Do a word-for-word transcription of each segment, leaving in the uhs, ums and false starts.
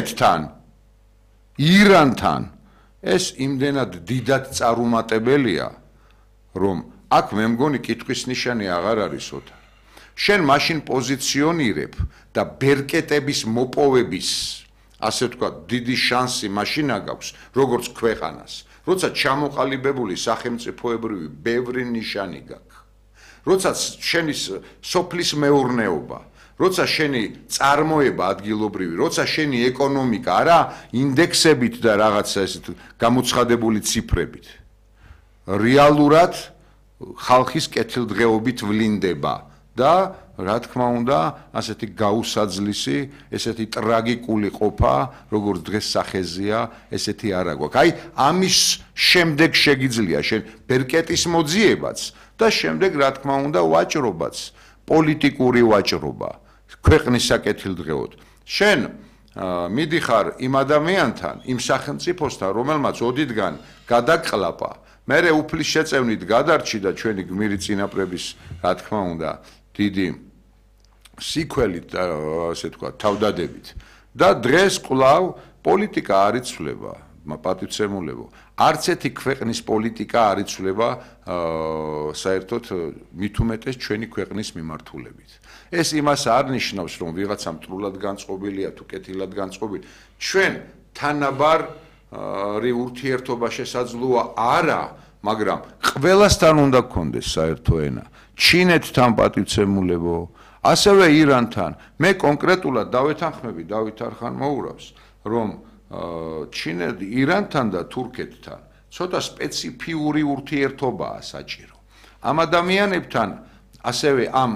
ჩინეთთან, ირანთან ეს იმდენად დიდად წარუმატებელია, რომ აქ მე მგონი კითხვის ნიშანი აღარ არის ოთარ. შენ მაშინ პოზიციონირებ და ბერკეტების მოპოვების, ასე ვთქვათ, დიდი შანსი მაშინ აგაქვს, როგორც ქვეყანას, როცა ჩამოყალიბებული სახელმწიფოებრივი ბევრი ნიშანი გაქვს. როცა შენი სოფლის მეურნეობა, როცა შენი წარმოება ადგილობრივი, როცა შენი ეკონომიკა არა ინდექსებით და რაღაცა ესეთ გამოცხადებული ციფრებით, რეალურად ხალხის კეთილდღეობით ვლინდება და რა თქმა უნდა, ასეთი გაუსაძლისი, ესეთი ტრაგიკული ყოფა, როგორც დღეს სახეზია, ესეთი არა გვაქვს. აი, ამის შემდეგ შეგიძლია შენ ბერკეტის მოძიებაც და შემდეგ რა თქმა უნდა ვაჭრობაც, პოლიტიკური ვაჭრობა, ქვეყნის საკეთილდღეოდ. შენ მიდიხარ იმ ადამიანთან, იმ სახელმწიფოსთან, რომელმაც ოდითგან გადაყლაპა, მერე უფლის შეწევნით გადარჩი და ჩვენი გმირი წინაპრების, რა თქმა უნდა, დიდი სიკველით, ასე თქვა, თავდადებით. და დღეს კვლავ პოლიტიკა არ იცვლება, პატივცემულებო. არც ერთი ქვეყნის პოლიტიკა არ იცვლება საერთოდ მით უმეტეს ჩვენი ქვეყნის მიმართულებით. ეს იმას არ ნიშნავს, რომ ვიღაცა მტრულად განწყობილია თუ კეთილად განწყობილი. ჩვენ თანაბარი ურთიერთობა შესაძლოა არა, მაგრამ ყველასთან უნდა გქონდეს საერთო ენა. ჩინეთთან პატივცემულებო, ასევე ირანთან. მე კონკრეტულად დავეთანხმები დავით არხანმოურავს, რომ ჩინეთ, ირანთან და თურქეთთან ცოტა სპეციფიური ურთიერთობაა საჭირო. ამ ადამიანებთან ასევე ამ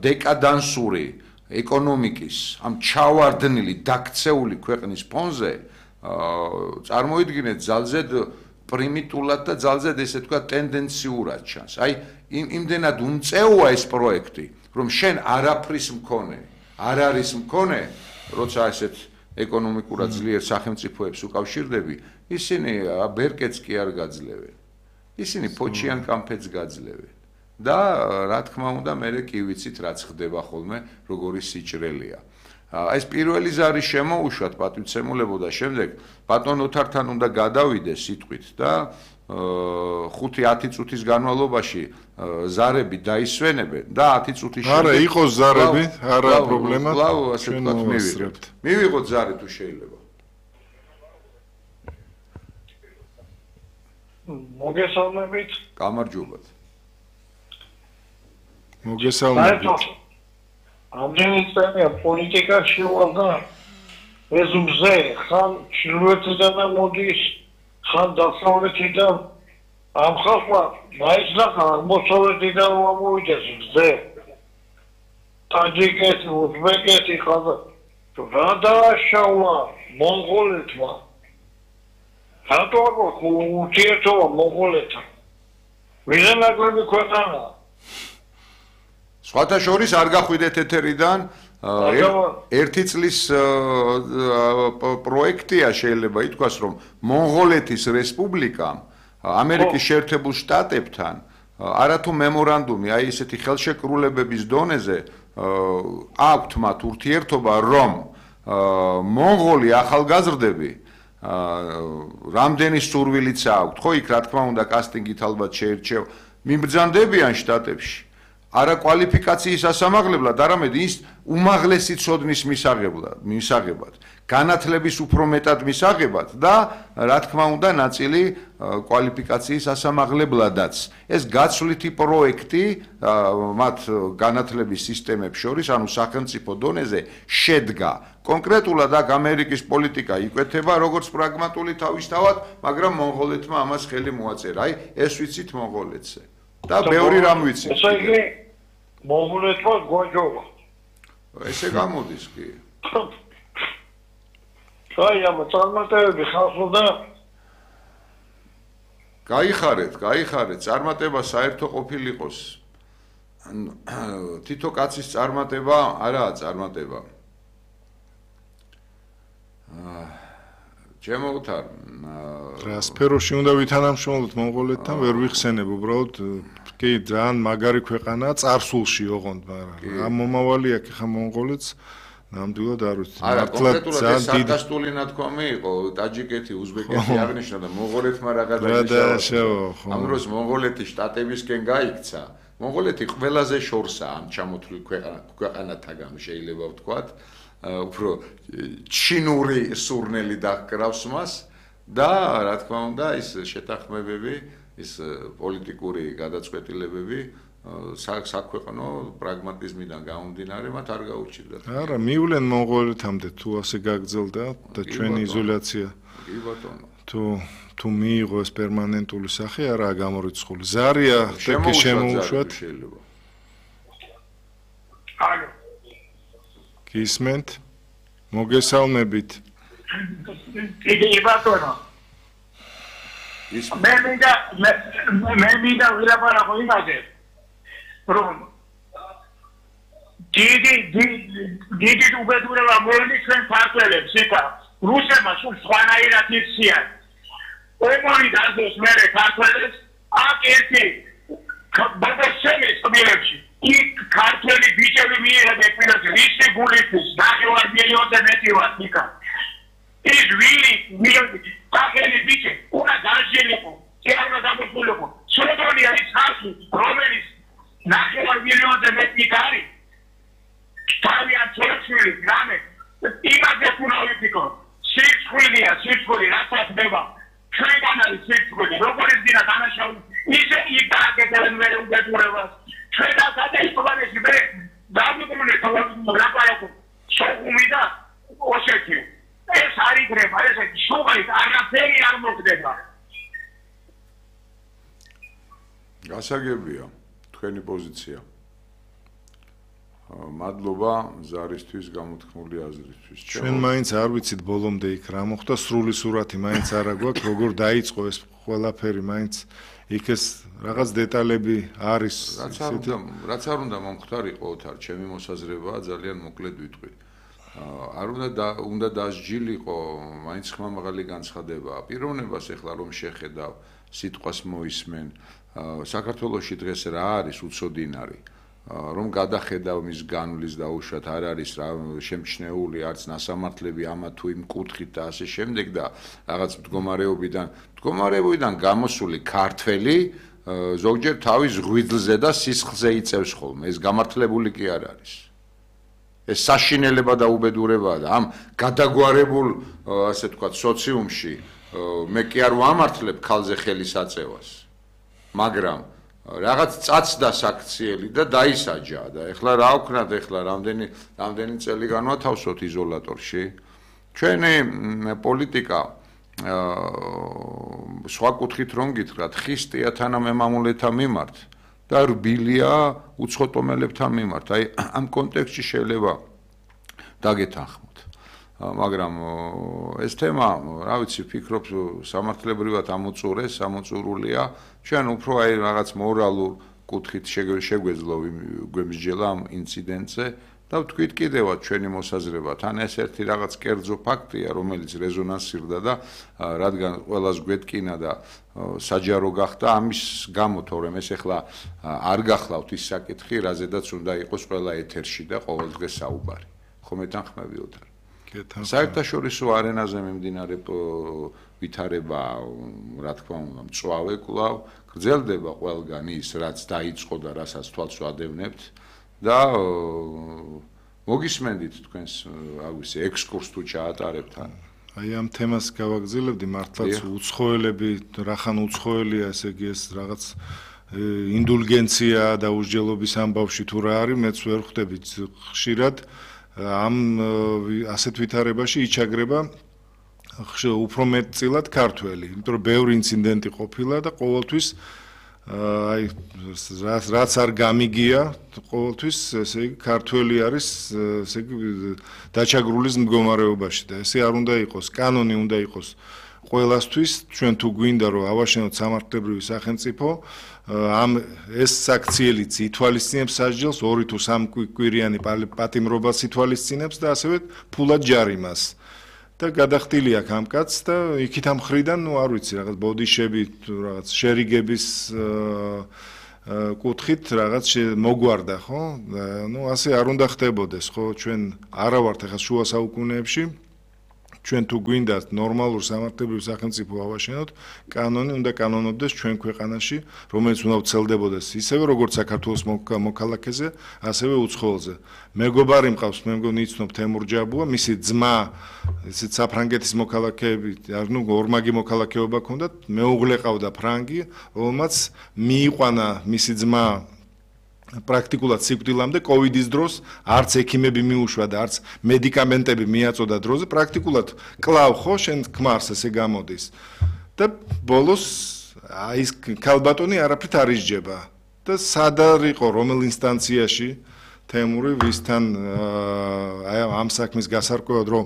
დეკადანსური ეკონომიკის, ამ ჩავარდნილი, დაქცეული ქვეყნის ფონზე წარმოიდგინეთ ძალზედ პრიმიტულად და ძალზედ ესე თქვა ტენდენციურად ჩანს. აი იმდენად უმწეოა ეს პროექტი, რომ შენ არაფრის მქონე, არ არის მქონე, როცა ესეთ ეკონომიკურად ძლიერ სახელმწიფოებს უკავშირდები, ისინი ბერკეტს კი არ გაძლევენ. ისინი ფოჩიან კამფეთს გაძლევენ. და რა თქმა უნდა, მე კი ვიცით რაც ხდება ხოლმე, როგორი სიჭრელია. ეს პირველი ზარი შემოუშვათ პატივცემულებო და შემდეგ ბატონ ოთართან უნდა გადავიდე სიტყვით და ხუთი ათი წუთის განმავლობაში ზარები დაისვენებენ და ათი წუთის შემდეგ არა იყოს ზარები, არა პრობლემა. კვლავ ასე ვთქვათ მივიღებთ. მივიღოთ ზარი თუ შეიძლება. მოგესალმებით. გამარჯობათ. მოგესალმებით. ამდენი წელია პოლიტიკაში ვარ და ეს მზე ხან ჩრდილოეთიდან მოდის, ხან დასავლეთიდან ამ ხალხმა მაიცნახა აღმოსავლეთიდან მომოვიდეს მზე. ტაჯიკეთი, უზბეკეთი ხაზა რა დააშავა მონღოლეთმა. რატო აქვს ურთიერთობა მონღოლეთთან? ვიღენაკლები ქვეყანაა. სხვათა შორის არ გახვიდეთ ეთერიდან ერთი წლის პროექტია შეიძლება ითქვას, რომ მონღოლეთის რესპუბლიკამ ამერიკის შეერთებულ შტატებთან არათუ მემორანდუმი, აი ესეთი ხელშეკრულებების დონეზე აქვთ მათ ურთიერთობა, რომ მონღოლი ახალგაზრდები რამდენი სურვილიც აქვთ, ხო იქ რა თქმა უნდა კასტინგით ალბათ შეირჩევ, მიბრძანდებიან შტატებში. არა კვალიფიკაციის ასამაღლებლად, არამედ ის უმაღლესი ცოდნის მისაღებად, განათლების უფრო მეტად მისაღებად და რა თქმა უნდა ნაწილი კვალიფიკაციის ასამაღლებლადაც. ეს გაცვლითი პროექტი მათ განათლების სისტემებს შორის, ანუ სახელმწიფო დონეზე შედგა. კონკრეტულად აქ ამერიკის პოლიტიკა იკვეთება როგორც პრაგმატული თავისთავად, მაგრამ მონღოლეთმა ამას ხელი მოაწერა. აი ეს ვიცით მონღოლეთზე. და ბევრი რამ ვიცით. ესე იგი მონღოლეთმა გვაჯობა. ესე გამოდის კი. აი ამ წარმატებები ხალხოდა გაიხარეთ, გაიხარეთ, წარმატება საერთო ყოფილიყოს. თითო კაცის წარმატება არაა წარმატება. ჩემო ოთარ, რა სფეროში უნდა ვითანამშრომლოთ მონღოლეთთან, ვერ ვიხსენებ უბრალოდ კი ძალიან მაგარი ქვეყანაა წარსულში ოღონდ, მაგრამ ამ მომავალი აქვს ხა მონღოლეთს ნამდვილად არ ვიცი. არა, კონკრეტულად ეს სარკასტული ნათქვამი იყო, ტაჯიკეთი, უზბეკეთი აღნიშნა და მონღოლეთმა რა გადაიშალა. ამ დროს მონღოლეთი შტატებისკენ გაიქცა. მონღოლეთი ყველაზე შორსაა ამ ჩამოთვლილ ქვეყანათაგან შეიძლება ვთქვათ. უფრო ჩინური სურნელი დაკრავს მას და რა თქმა უნდა ის შეთანხმებები, ის პოლიტიკური გადაწყვეტილებები საქვეყნო პრაგმატიზმიდან გამომდინარე მათ არ გაუჭირდათ. არა, მივლენ მონღოლეთამდე თუ ასე გაგრძელდა და ჩვენი იზოლაცია. კი ბატონო. თუ თუ მიიღო ეს პერმანენტული სახე არაა გამორიცხული. ზარია და შემოუშვათ. ალო. გისმენთ? მოგესალმებით. იგი ბატონო. მე მინდა მე მინდა ვილაპარაკო იმაზე. რომ დიდი დიდი უბედურება მოენიშნეს ფარგლებს იქა რუსებმა სულ სხვანაირად იქციან ომარი დაზოს მერე ფარგლებს აქ ერთი ბაბაშემის მილებში იქ ქართველი ბიჭები მიიღებენ პირას რისი გულისთვის ნახევარ მილიონზე მეტი ვარ იქა ის ვილი მილიონი ქართველი ბიჭი უნდა გაჟილიყო ევროპა დამოუკიდებლობა სულგონია ის ხალხი რომელიც ნახევარ მილიონზე მეტი კარი თავიანთ ცოლ-შვილი გრამე იმაზე უნდა ვიფიქრო სიცხვილია სიცხვილი რასაც ხდება ჩვენგან არის სიცხვილი როგორც დინა დანაშაული ისე იქ დააკეთებენ მე უბედურებას ჩვენ გადაიხვალეს მე დავიბრუნე ლაპარაკო სოხუმი და ოსეთი ეს არ იგრება ეს შუღით არაფერი არ მოხდება გასაგებია თქვენი პოზიცია. მადლობა ზარისთვის გამოთქმული აზრისთვის. ჩვენ მაინც არ ვიცით ბოლომდე იქ რა მოხდა, სრული სურათი მაინც არ აგვაქვს, როგორ დაიწყო ეს ყველაფერი, მაინც იქ ეს რაღაც დეტალები არის. რაც არ უნდა, რაც არ უნდა მომხდარიყო ოთარ, ჩემი მოსაზრებაა ძალიან მოკლედ ვიტყვი. არ უნდა უნდა დასჯილიყო, მაინც ხმამაღალი განცხადებაა. პიროვნებას ეხლა რომ შეხედავ, სიტყვას მოისმენ საქართველოში დღეს რა არის უცოდინარი რომ გადახედავ მის განვლის დაუშვათ არ არის რა შემჩნეული არც ნასამართლები ამა თუ იმ კუთხით და ასე შემდეგ და რაღაც მდგომარეობიდან მდგომარეობიდან გამოსული ქართველი ზოგჯერ თავის ღვიძლზე და სისხლზე იწევს ხოლმე ეს გამართლებული კი არ არის ეს საშინელება და უბედურებაა და ამ გადაგვარებულ ასე თქვა სოციუმში მე კი არ ვამართლებ ქალზე ხელის აწევას მაგრამ რაღაც წაცდა საქციელი და დაისაჯა და ეხლა რა ვქნათ ეხლა რამდენი რამდენი წელი განვათავსოთ იზოლატორში ჩვენი პოლიტიკა სხვა კუთხით რომ გითხრათ ხისტია თანამემამულეთა მიმართ და რბილია უცხოტომელებთან მიმართ აი ამ კონტექსტში შეიძლება დაგეთანხმოთ მაგრამ ეს თემა, რა ვიცი, ფიქრობ სამართლებრივად ამოწურეს, ამოწურულია. ჩვენ უფრო აი რაღაც მორალურ კუთხით შეგვეძლო გვემსჯელა ამ ინციდენტზე და ვთქვით კიდევაც ჩვენი მოსაზრება. თან ეს ერთი რაღაც კერძო ფაქტია, რომელიც რეზონანსირდა და რადგან ყველას გვეთკინა და საჯარო გახდა ამის გამო, თორემ ეს ახლა არ გახლავთ ის საკითხი, რაზედაც უნდა იყოს ყველა ეთერში და ყოველდღე საუბარი. ხომ ეთანხმები ოთარ? საერთაშორისო არენაზე მიმდინარე ვითარება, რა თქმა უნდა, მწვავე კვლავ გრძელდება ყველგან ის, რაც დაიწყო და რასაც თვალს ვადევნებთ და მოგისმენდით თქვენს, რა ვიცი, ექსკურს თუ ჩაატარებთ ან აი ამ თემას გავაგრძელებდი, მართლაც უცხოელები, რახან უცხოელია, ესე იგი ეს რაღაც ინდულგენცია და უსჯელობის ამბავში თუ რა არის, მეც ვერ ხვდები ხშირად ამ ასეთ ვითარებაში იჩაგრება უფრო მეტწილად ქართველი, იმიტომ რომ ბევრი ინციდენტი ყოფილა და ყოველთვის აი რაც არ გამიგია, ყოველთვის ესე იგი ქართველი არის ესე იგი დაჩაგრულის მდგომარეობაში და ესე არ უნდა იყოს, კანონი უნდა იყოს ყველასთვის, ჩვენ თუ გვინდა რომ ავაშენოთ სამართლებრივი სახელმწიფო ამ ეს საქციელიც ითვალისწინებს სასჯელს ორი თუ სამი კვირიანი პატიმრობას ითვალისწინებს და ასევე ფულად ჯარიმას და გადახდილი აქვს ამ კაცს და იქით ამ ხრიდან ნუ არ ვიცი რაღაც ბოდიშები თუ რაღაც შერიგების კუთხით რაღაც მოგვარდა, ხო? ნუ ასე არ უნდა ხდებოდეს, ხო? ჩვენ არა ვართ ახლა შუა საუკუნეებში. ჩვენ თუ გვინდა ნორმალურ სამართლებრივ სახელმწიფო ავაშენოთ, კანონი უნდა კანონობდეს ჩვენ ქვეყანაში, რომელიც უნდა ვრცელდებოდეს ისევე როგორც საქართველოს მოქალაქეზე, ასევე უცხოელზე. მეგობარი მყავს, მე მგონი იცნობ თემურ ჯაბუა, მისი ძმა, ისეთ საფრანგეთის მოქალაქეები, ნუ ორმაგი მოქალაქეობა ჰქონდათ, მეუღლე ყავდა ფრანგი, რომელმაც მიიყვანა მისი ძმა პრაქტიკულად სიკვდილამდე კოვიდის დროს არც ექიმები მიუშვა და არც მედიკამენტები მიაწოდა დროზე პრაქტიკულად კლავ ხო შენ ქმარს ესე გამოდის და ბოლოს აი ეს ქალბატონი არაფრით არ ისჯება და სად არ იყო რომელ ინსტანციაში თემური ვისთან აი ამ საქმის გასარკვევად რომ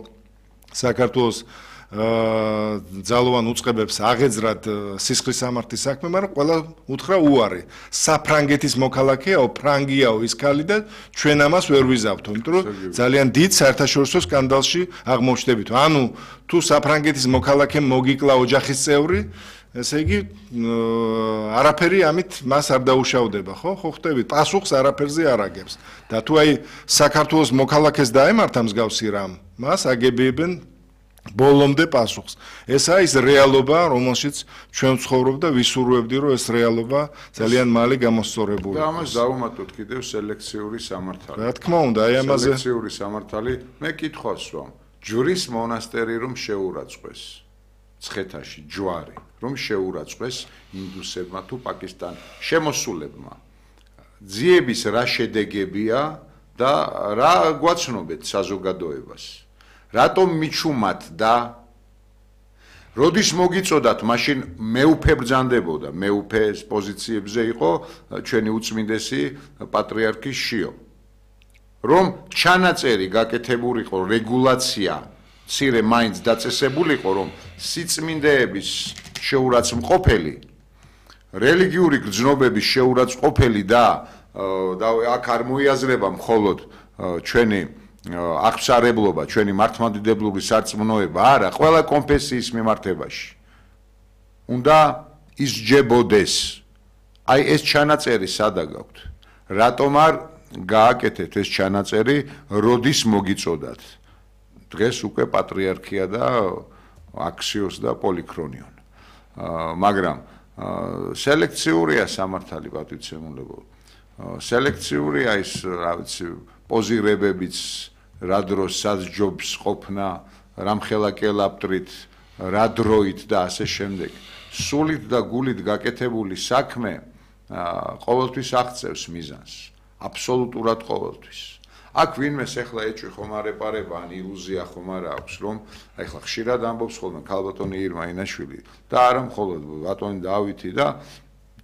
საქართველოს ძალოვან უწყებებს აღეძრათ სისხლის სამართლის საქმე, მაგრამ ყველა უთხრა უარი. საფრანგეთის მოქალაქეაო, ფრანგიაო ის ქალი და ჩვენ ამას ვერ ვიზავთო, იმიტომ რომ ძალიან დიდ საერთაშორისო სკანდალში აღმოჩნდებით. ანუ თუ საფრანგეთის მოქალაქემ მოგიკლა ოჯახის წევრი, ესე იგი არაფერი ამით მას არ დაუშავდება, ხო? ხო ხვდებით, პასუხს არაფერზე არ აგებს. და თუ აი საქართველოს მოქალაქეს დაემართა მსგავსი რამ, მას აგებიებენ ბოლომდე პასუხს. ესაა ის რეალობა, რომელშიც ჩვენ ვცხოვრობ და ვისურვებდი, რომ ეს რეალობა ძალიან მალე გამოსწორებული და ამას დავუმატოთ კიდევ სელექციური სამართალი. რა თქმა უნდა, აი ამაზე სელექციური სამართალი, მე კითხვას ვამ, ჯვრის მონასტერი რომ შეურაცხყვეს ცხეთაში ჯვარი, რომ შეურაცხყვეს ინდუსებმა თუ პაკისტან შემოსულებმა. ძიების რა შედეგებია და რა გვაცნობეთ საზოგადოებას? რატომ მიჩუმათ და როდის მოგიწოდათ მაშინ მეუფე ბრძანდებოდა მეუფეს პოზიციებზე იყო ჩვენი უწმინდესი პატრიარქი შიო რომ ჩანაწერი გაკეთებულიყო რეგულაცია მცირე მაინც დაწესებულიყო რომ სიწმინდეების შეურაცხმყოფელი რელიგიური გრძნობების შეურაცხმყოფელი და და აქ არ მოიაზრება მხოლოდ ჩვენი აღსარებლობა, ჩვენი მართლმადიდებლური სარწმუნოება არა, ყველა კონფესიის მიმართებაში. უნდა ისჯებოდეს. აი ეს ჩანაწერი სადა გაქვთ? რატომ არ გააკეთეთ ეს ჩანაწერი, როდის მოგიწოდათ? დღეს უკვე პატრიარქია და აქსიოს და პოლიქრონიონ. მაგრამ სელექციურია სამართალი პატივცემულებო. სელექციურია ის, რა ვიცი, პოზირებებიც რა დროს საძჯობს ყოფნა, რამხელა კელაპტრით, რა დროით და ასე შემდეგ. სულით და გულით გაკეთებული საქმე ყოველთვის აღწევს მიზანს, აბსოლუტურად ყოველთვის. აქ ვინმეს ახლა ეჭვი ხომ არ ეპარება, ან ილუზია ხომ არ აქვს, რომ აი ახლა ხშირად ამბობს ხოლმე ქალბატონი ირმა ინაშვილი და არა მხოლოდ ბატონი დავითი და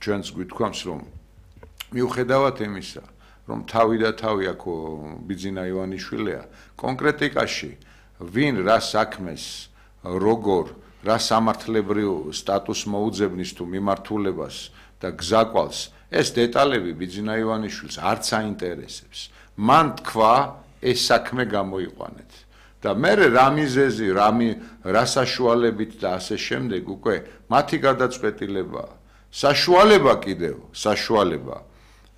ჩვენც გვითქვამს, რომ მიუხედავად იმისა, რომ თავი და თავი აქ ბიძინა ივანიშვილია, კონკრეტიკაში ვინ რა საქმეს, როგორ, რა სამართლებრივ სტატუსს მოუძებნის თუ მიმართულებას და გზაკვალს, ეს დეტალები ბიძინა ივანიშვილს არც აინტერესებს. მან თქვა, ეს საქმე გამოიყვანეთ. და მე რა მიზეზი, რა საშუალებით და ასე შემდეგ უკვე მათი გადაწყვეტილებაა. საშუალება კიდევ, საშუალება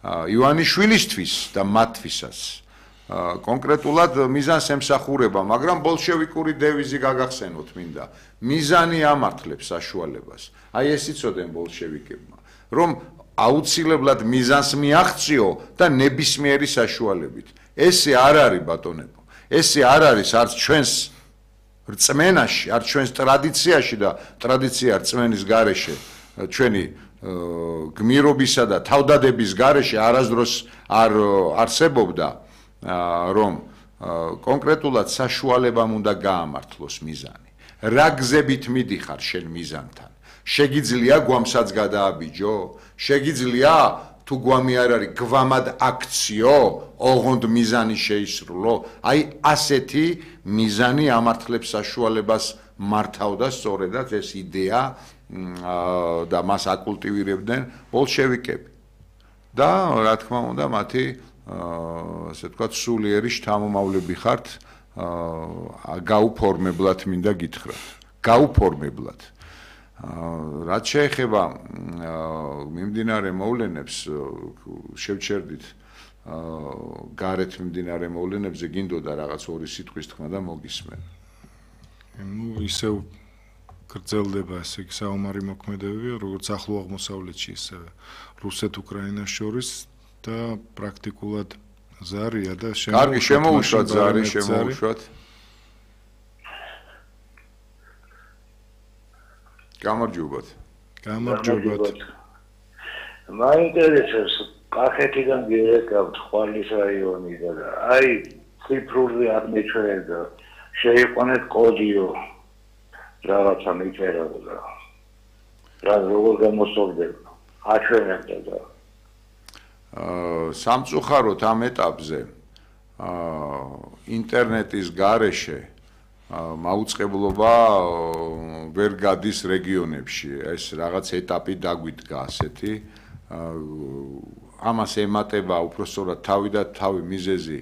ივანიშვილისთვის და მათთვისაც კონკრეტულად მიზანს ემსახურება, მაგრამ ბოლშევიკური დევიზი გაგახსენოთ მინდა. მიზანი ამართლებს საშუალებას. აი ეს იცოდნენ ბოლშევიკებმა, რომ აუცილებლად მიზანს მიაღწიო და ნებისმიერი საშუალებით. ესე არ არის ბატონებო. ესე არ არის არც ჩვენს რწმენაში, არც ჩვენს ტრადიციაში და ტრადიცია რწმენის გარეშე ჩვენი გმირობისა და თავდადების გარეშე არასდროს არ არსებობდა, რომ კონკრეტულად საშუალებამ უნდა გაამართლოს მიზანი. რა გზებით მიდიხარ შენ მიზანთან? შეგიძლია გვამსაც გადააბიჯო? შეგიძლია თუ გვამი არ არის გვამად აქციო, ოღონდ მიზანი შეისრულო? აი ასეთი მიზანი ამართლებს საშუალებას მართავდა სწორედაც ეს იდეა და მას აკულტივირებდნენ ბოლშევიკები. და რა თქმა უნდა, მათი ასე ვთქვათ, სულიერი შთამომავლები ხართ, გაუფორმებლად მინდა გითხრათ. გაუფორმებლად. რაც შეეხება მიმდინარე მოვლენებს შევჩერდით გარეთ მიმდინარე მოვლენებზე გინდოდა რაღაც ორი სიტყვის თქმა და მოგისმენ. ნუ ისევ გრძელდება ესე იგი საომარი მოქმედებები, როგორც ახლო აღმოსავლეთში, ისე რუსეთ-უკრაინას შორის და პრაქტიკულად ზარია და შემოუშვათ. კარგი, შემოუშვათ ზარი, შემოუშვათ. გამარჯობათ. გამარჯობათ. მაინტერესებს კახეთიდან გიეკავთ ხვალის რაიონი და აი ციფრული აღმოჩენილი და შეიყვანეთ კოდიო რაღაცა მიწერა და რა როგორ გამოსწორდება აჩვენებდა და აა სამწუხაროდ ამ ეტაპზე აა ინტერნეტის გარეშე მაუწყებლობა ვერ გადის რეგიონებში ეს რაღაც ეტაპი დაგვიდგა ასეთი ამას ემატება უпростоრად თავი და თავი მიზეზი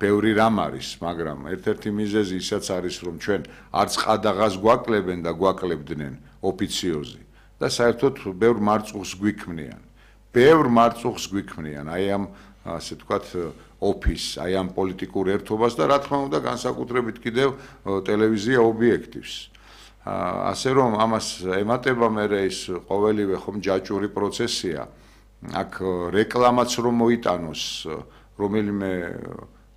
ბევრი რამ არის მაგრამ ერთ-ერთი მიზეზი ისაც არის რომ ჩვენ არც ყადაღას გვაკლებენ და გვაკლებდნენ ოფიციოზი და საერთოდ ბევრ მარწუხს გვიქმნიან ბევრ მარწუხს გვიქმნიან აი ამ ასე თქვათ ოფის აი ამ პოლიტიკურ ერთობას და რა თქმა უნდა განსაკუთრებით კიდევ ტელევიზია ობიექტივს ასე რომ ამას ემატება მე ის ყოველივე ხომ ჯაჭვური პროცესია აქ რეკლამაც რომ მოიტანოს რომელიმე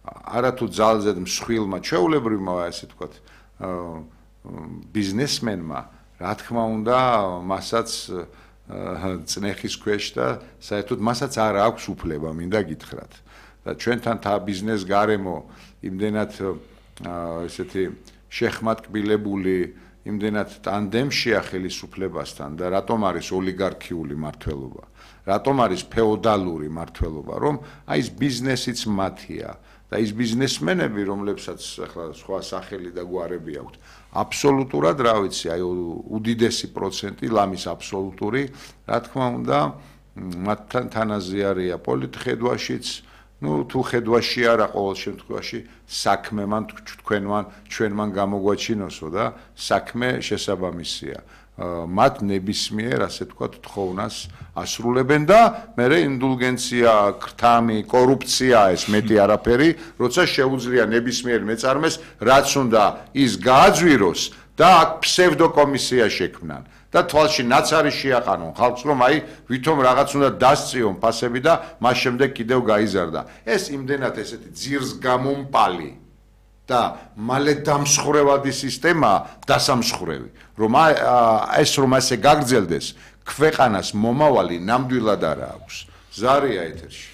არათუ ძალზე მსხვილმა ჩვეულებრივმა ასე თქვათ ბიზნესმენმა რა თქმა უნდა მასაც წნეხის ქვეშ და საერთოდ მასაც არ აქვს უფლება მინდა გითხრათ და ჩვენთან თა ბიზნეს გარემო იმდენად ესეთი შეხმატკბილებული იმდენად ტანდემშია ხელისუფლებასთან და რატომ არის ოლიგარქიული მართლობა რატომ არის ფეოდალური მართლობა რომ აი ეს ბიზნესიც მათია და ის ბიზნესმენები რომლებსაც ახლა სხვა სახელი და გვარები აქვთ აბსოლუტურად რა ვიცი აი უდიდესი პროცენტი ლამის აბსოლუტური რა თქმა უნდა მათთან თანაზიარია პოლიტხედვაშიც ну თუ ხედვაში არა ყოველ შემთხვევაში საქმემან თქვენმან ჩვენმან გამოგვაჩინოსო და საქმე შესაბამისია მათ ნებისმიერ ასე თქვა თხოვნას ასრულებენ და მე ინდულგენცია ქრთამი კორუფცია ეს მეტი არაფერი როცა შეუძლია ნებისმიერ მეწარმეს რაც უნდა ის გააძვიროს და აქ ფსევდოკომისია შექმნან და თვალში ნაცარი შეაყანონ ხალხს რომ აი ვითომ რაღაც უნდა დასწიონ ფასები და მას შემდეგ კიდევ გაიზარდა ეს იმდენად ესეთი ძირს გამომპალი და მალე დამსხვრევადი სისტემა დასამსხვრევი რომ ეს რომ ასე გაგრძელდეს ქვეყანას მომავალი ნამდვილად არა აქვს ზარია ეთერში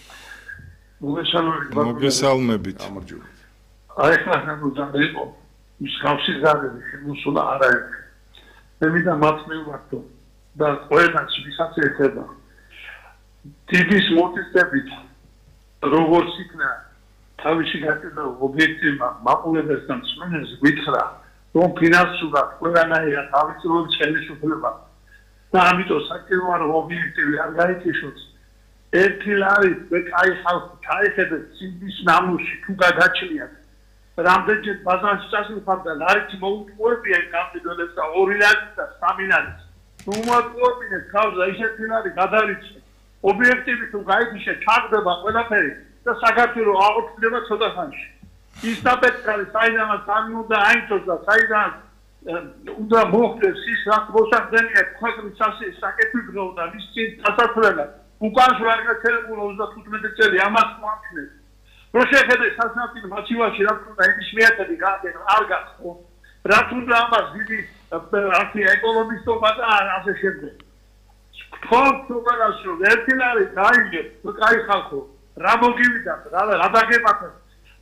მოგესალმებით გამარჯობათ აი ხა უნდა იყო მსგავსი ზარები შემოსულა არაერთი მე მინდა მათმევართო და ყველას ვისაც ეხება ტიპის მოტივებით როგორც იქნა თავისი გაკეთება ობიექტივმა მაყურებელთან მსმენელს გითხრა რომ ფინანსურად ყველანაირად ავიწროებს ხელისუფლება და ამიტომ საჭიროა რომ ობიექტივი არ გაიქიშოს ერთი ლარი კაი ხალხი ჩაიხედეთ ციმბის ნამუში თუ გადაჭლიათ რამდენჯერ ბაზარში წასულხარდა ლარით მოუწყობია კაპიტალებს და ორი ლარი და სამი ლარი თუ მოუწყობინეთ ხალხს ისეთი ლარი გადარიცხე ობიექტივი თუ გაიქიშე ჩაგდება ყველაფერი და საქართველოს აღოქმება ცოტა ხანში. ის დაპეტკარი საიდანაც არ უნდა აიწოს და საიდან უნდა მოხდეს ის რაც მოსახდენია ქვეყნის საკეთილო და ის დასასრულებლად უკან შუა გაჩერებული ოცდათხუთმეტი წელი ამას მოახდენს. რო შეხედე სასამართლო მოცივაში რაც უნდა ის მიაწედი გააკეთე არ გახსოვ. რაც უნდა ამას დიდი ასე ეკონომისტობა და ასე შემდეგ. თქვენ თუყანაშო ერთი ლარი დაიგე კაი ხალხო რა მოგივიდათ რა რა დაგებახეთ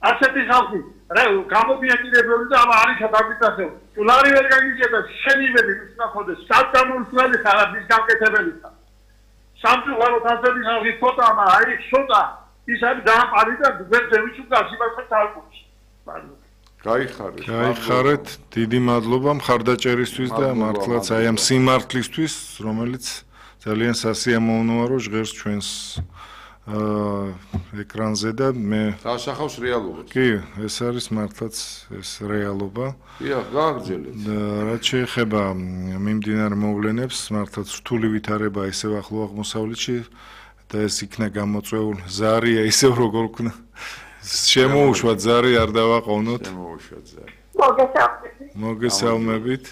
ასეთი ხალხი რა გამომიაკირებელი და ამა არის დაგიტახებ ლარი ვერ გაგიჭირდა შენივები მისნახოდეს საწამულსველი ხარაბის გაკეთებელია სამწუხაროდ ასეთი ხალხი ფოტოა აი შოტა ის არის დააპარი და გვერდები უკას იმასაც არ გულს გაიხარეთ გაიხარეთ დიდი მადლობა მხარდაჭერისთვის და მართლაც აი ამ სიმართლისთვის რომელიც ძალიან სასიამოვნოა რომ ჟღერს ჩვენს ეკრანზე და მე დასახავს რეალობას. კი, ეს არის მართლაც ეს რეალობა. დიახ, გააგრძელეთ. რაც შეეხება მიმდინარე მოვლენებს, მართლაც რთული ვითარება ისევ ახლო აღმოსავლეთში და ეს იქნა გამოწვეულ ზარია ისევ როგორ ვქნა. შემოუშვა ზარი არ დავაყოვნოთ. შემოუშვა ზარი. მოგესალმებით. მოგესალმებით.